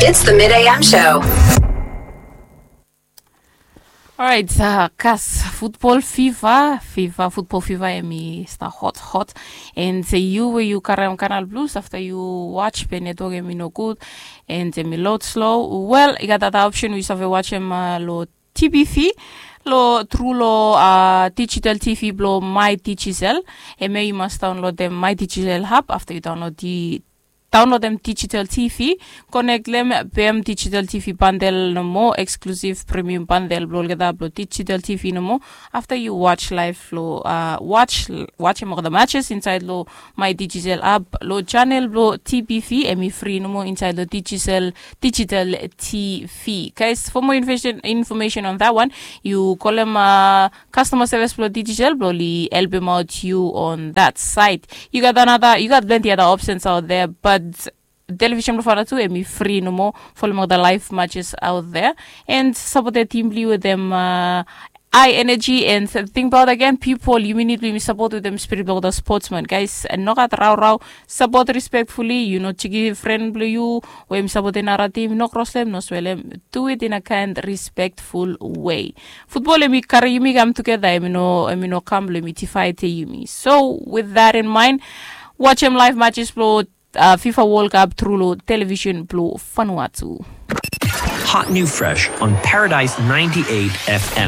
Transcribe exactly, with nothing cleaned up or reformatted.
It's the Mid A M show. Alright, uh, kas futbol fiva, fiva, futbol fiva em i sta hot, hot. And se yu we yu karem Canal Plus afta yu watch pe network em i no gud, and em i load slow. Wel, i gat ada option we yu save watch em uh, lo T B V, lo tru lo uh, digital T V blo My Digicel. Em yu mas download em My Digicel app afta yu download di download em digital T V, connect lem, pem digital T V bundle nomo, exclusive premium bundle blo olgeta blo digital T V nomo. After you watch live lo uh, watch watch em all the matches inside lo My Digicel app, lo channel blo T B V em i free nomo inside lo digital digital T V. Guys, for more information information on that one, you call them uh, customer service blo Digicel blo li help him out you on that side. You got another, you got plenty other options out there, but television blo Fana tu em i free nomo, follow all the live matches out there and support the team blo with them uh, high energy and thing about again people you need to support with them spirit of the sportsman guys and no got rau rau support respectfully you know chiki friend blo you we em support another team no cross them no swell them do it in a kind respectful way. Football em i kari yumi kam together em i no em i no kam blo em i tifai te yumi. So with that in mind, watch em live matches blo uh, FIFA World Cup through lo television blo Vanuatu. Hot new fresh on Paradise ninety-eight F M.